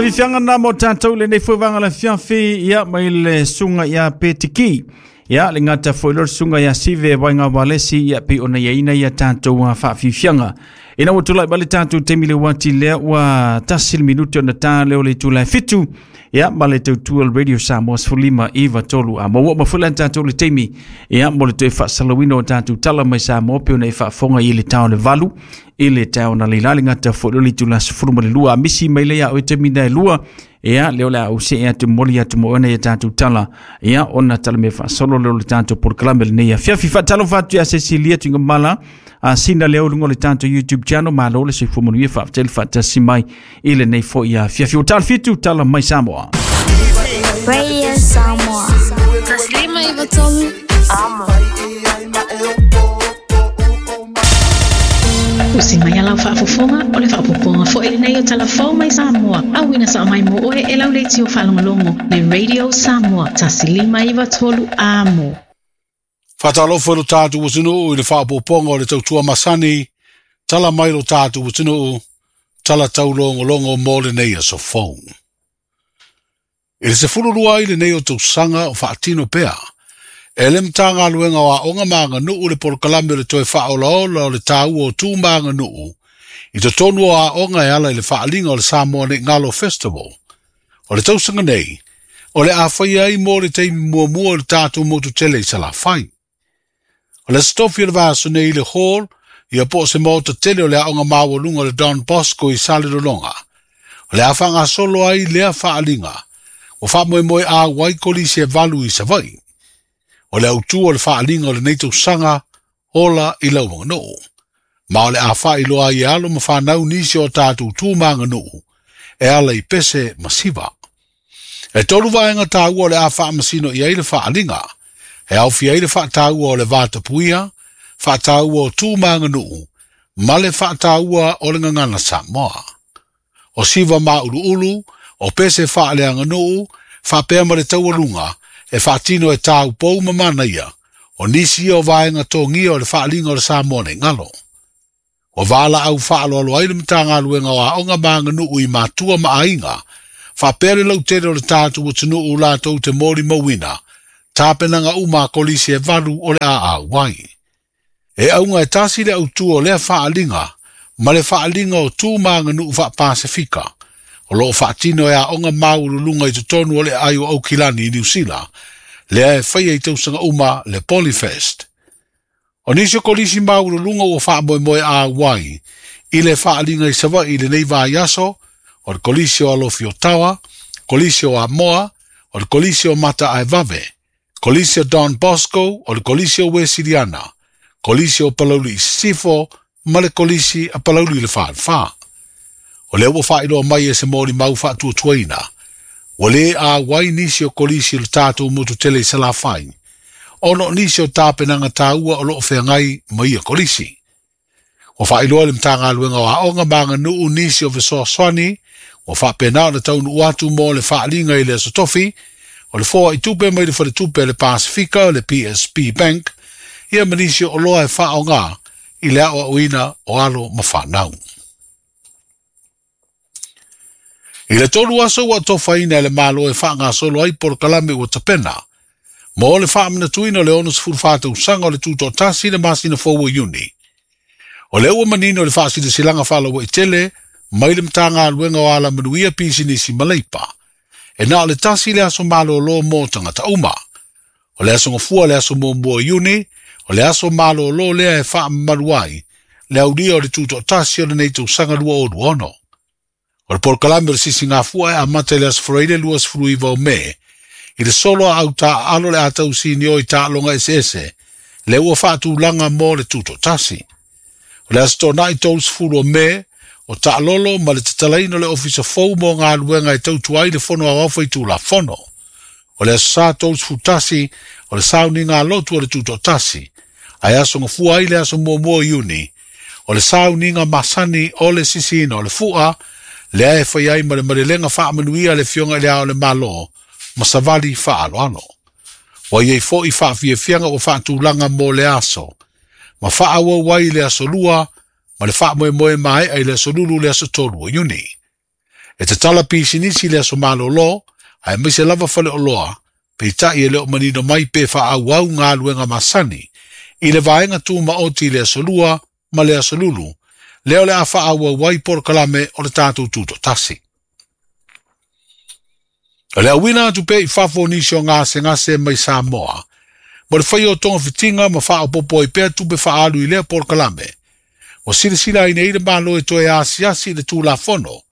Fiafiaga na mo tatou lenei foi vaega le afiafi, ia mai le susuga ia Petiki. Ia le gata foi lo le susuga ia Sive Waiga Walesi, ia pe ona ia ina ia tatou faafiafiaga. Ina ua tulai mai le tatou taimi le uati lea ua 1 minute ona ta leo le itula e 7, ia ma le tautua le Radio Samoa 15 9 3 a mo ua ma foi le tatou le taimi ia mo le toe faasalauina o tatou tala mai Samoa pe ona e faafofoga i le tao le 8 i le tao na leila le gata foi le itula 12 a misi mai le ia o taimi na e lua. Ia leo le au se atu moli atu mo ona ia tatou tala ia ona tala me faasolo leo le tatou polokalame lenei afiafi. Faatalofa atu ia Cecilia Tuigamala a sina leo luga o le tatou YouTube channel. Malo le soifua manuia, faafetai le faatasi mai i lenei foi afiafi o tala 7 tala mai Samoa. Radio Samoa. 153 Amo. Usi mai ala faafofoga o le faapopoga foi lenei o talafou mai Samoa. Auina sa mai mo oe e lau leitio faalogologo le Radio Samoa 153 Amo. Faatalofa i lo tatou atunuu i le faaopoopoga o le tautua masani, tala mai lo tatou atunuu, tala taulogologo mo lenei aso fou. I le 12 ai lenei o tausaga o faatino pea e le Matagaluega o Aoga ma Aganuu le polokalame o le toe faaolaola o le taua o tu ma aganuu i totonu o aoga e ala i le faaliga o le Samoa Nei Galo Festival. O le tausaga nei, o le a faia ai mo le taimi muamua o le tatou motu tele i Salafai. O le Aso Tofi o le vaiaso nei i le hall, ia po o se maota tele o le aoga maualuga o le Don Bosco i Salelologa, o le a faagasolo ai lea faaliga ua faamoemoe auai kolisi e 8 i Savaii. O le autu o le faaliga o lenei tausaga, ola i lau aganuu. Ma o le a faailoa ai e alo ma fanau nisi o tatou tu ma aganuu e ala i pese ma siva. E tolu vaega taua o le a faamasino i ai le faaliga. E aofia ai le faataua o le vatapuia, faataua o tu ma aganuu, ma le faataua o le gagana Samoa. O siva mauluulu, o pese faaleaganuu, faapea ma le taualuga, e faatino e taupou ma manaia, o nisi ia o vaega togia o le faaliga o le Samoa nei galo. Ua valaau faaaloalo ai le Matagaluega o Aoga ma Aganuu i matua ma aiga, faapea le lautele o le tatou atunuu latou te molimauina tapenaga uma a kolisi e 8 o le a auai. E auga e tasi le autu o lea faaliga ma le faaliga o tu ma aganuu faapasifika o loo faatino e aoga maualuluga i totonu o le aai o Aukilani i Niusila, lea e faia i tausaga uma le Polyfest. O nisi o kolisi maualuluga ua faamoemoe auai i le faaliga i Savaii i lenei vaiaso, o le kolisi o Alofi o Tawa, kolisi o Amoa, o le kolisi o Mata Aevave, kolisi o Don Bosco, o le kolisi o Wesiliana, kolisi o Palauli i Sisifo, ma le kolisi a Palauli i le Falefa. O lea ua faailoa mai e se molimau faatuatuaina, ua lē auai nisi o kolisi o le tatou motu tele i Salafai, ona o nisi o tapenaga taua o loo feagai ma ia kolisi. Ua faailoa le Matagaluega o Aoga ma Aganuu nisi o fesoasoani ua faapena ona taunuu atu mo le faaliga i le Aso Tofi, o le foai tupe mai le faletupe a le Pasifika, le PSP Bank, ia ma nisi o oloa e faaoga i le aoaoina o alo ma fanau. I le 3 aso ua tofaina e le Malo e faagasolo ai polokalame ua tapena mo le faamanatuina o le 64 tausaga o le tutoatasi i le masina fou o Iuni. O lea ua manino le faasilasilaga faalauaitele mai le Matagaluega o Alamanuia Pisinisi ma Leipa, e na o le tasi le aso malōlō mo tagata uma. O le aso Gafua le aso 1 o Iuni, o le aso malōlō lea e faamamalu ai le aulia o le tutoatasi o lenei tausaga 2026. O le polokalame o le Sisigafua e amata i le aso Faraile 29 o Me, i le solo a autaaalo le a tausinio i taaloga eseese, le ua faatulaga mo le tutoatasi. O le aso Toonai 30 o Me, o taalolo ma le tatalaina o le ofisa fou mo galuega e tautua ai le Fono Aoao Faitulafono. O le aso Sa 31, o le sauniga lotu o le tutoatasi, ae aso Gafua ai le aso 1 o Iuni, o le sauniga masani o le sisiina o le fua, lea e fai ai ma le malelega faamanuia le Afioga i le Ao o le Malo ma savali faaaloalo. Ua iai foi faafiafiaga ua faatulaga mo le aso, ma faaauau ai le aso Lua ma le faamoemoe maea i le aso Lulu le aso 3 o Iuni. E tatala pisinisi le aso malōlō, aemaise lava faleoloa, peitai e le o manino mai pe faaauau galuega masani, i le vaega tumaoti i le aso 2 ma le aso lulu, lea o le a faaauau ai polokalame o le tatou tutoatasi. O le auina atu pea i fafo o nisi o gasegase mai Samoa, mo le faia o togafitiga ma faaopoopo ai pea tupe faaalu i lea polokalame, ua silasila ai nei le Malo e toe asiasi i le Tulafono,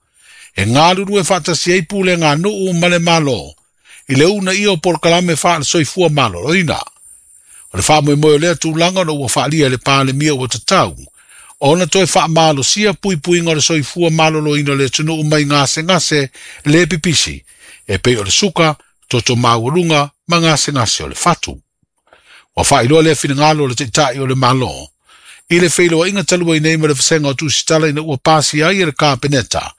e galulue faatasi ai pulega nuu ma le Malo i le uunaia o polokalame faale-soifua maloloina. O le faamoemoe o lea tulaga ona ua faaalia e le Palemia ua tatau ona toe faamalosia puipuiga o le soifua maloloina o le atunuu mai gasegase le pipisi e pei o le suka, toto maualuga ma gasegase o le fatu. Ua faailoa lea finagalo o le Taitai o le Malo i le feiloaiga talu ai nei ma le Vasega o Tusitala ina ua pasia ai e le Kapeneta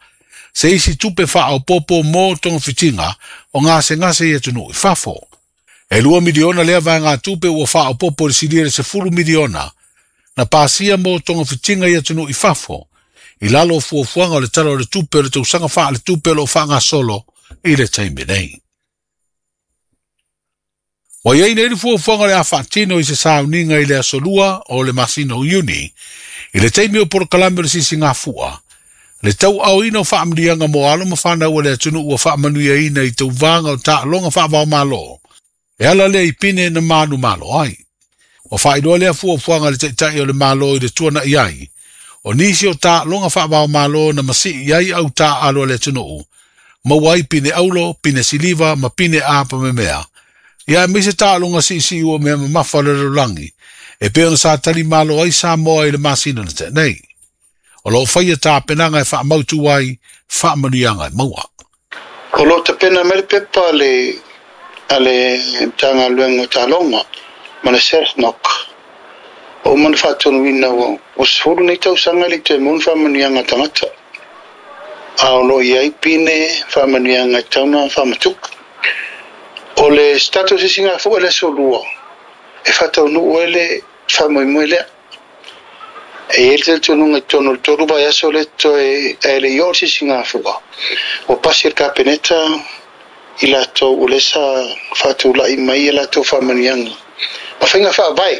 se isi tupe faaopoopo mo togafitiga o gasegase i atunuu i fafo. E 2 miliona lea vaegatupe ua faaopoopo i le silia i le 10 miliona na pasia mo togafitiga i atunuu i fafo i lalo o fuafuaga o le Tala o le Tupe o le tausaga faaletupe o lo o faagasolo i le taimi nei. Ua i ai nei le fuafuaga o le a faatino i se sauniga i le aso 2 o le masina o Iuni, i le taimi o polokalame o le sisigafua, le tauaaoina o faamanuiaga mo alo ma fanau a le atunuu ua faamanuiaina i tauvaga o taaloga faavaomalo, e ala lea i pine na manumalo ai. Ua faailoa lea fuafuaga a le Taitai o le Malo i le tuanai ai o nisi o taaloga faavaomalo na masii i ai au taaalo a le atunuu, maua ai pine aulo, pine siliva ma pine apamemea, ia aemaise taaloga siisii ua mea mamafa o le lalolagi, e pei ona sa tali malo ai Samoa i le masina na tea nei. O lo o faia tapenaga e faamautu ai faamanuiaga e maua. O lo o tapena mai le pepa a le a le Matagaluega o Taaloga ma le SAFNOC. Ua uma ona faatonuina ua 10 nei tausaga e le i toe maua ni faamanuiaga a tagata, a o lo o i ai pine faamanuiaga e tatau ona faamatupu. O le status i Singafua i le aso 2 e faataunuu ai le faamoemoe lea. E i ai le talitonuga i totonu o le 3 vaiaso lea totoe ae le i oo le sisigafua, ua pasi e le Kapeneta i latou o lea sa faatulai mai a latou faamanuiaga ma faiga faavae.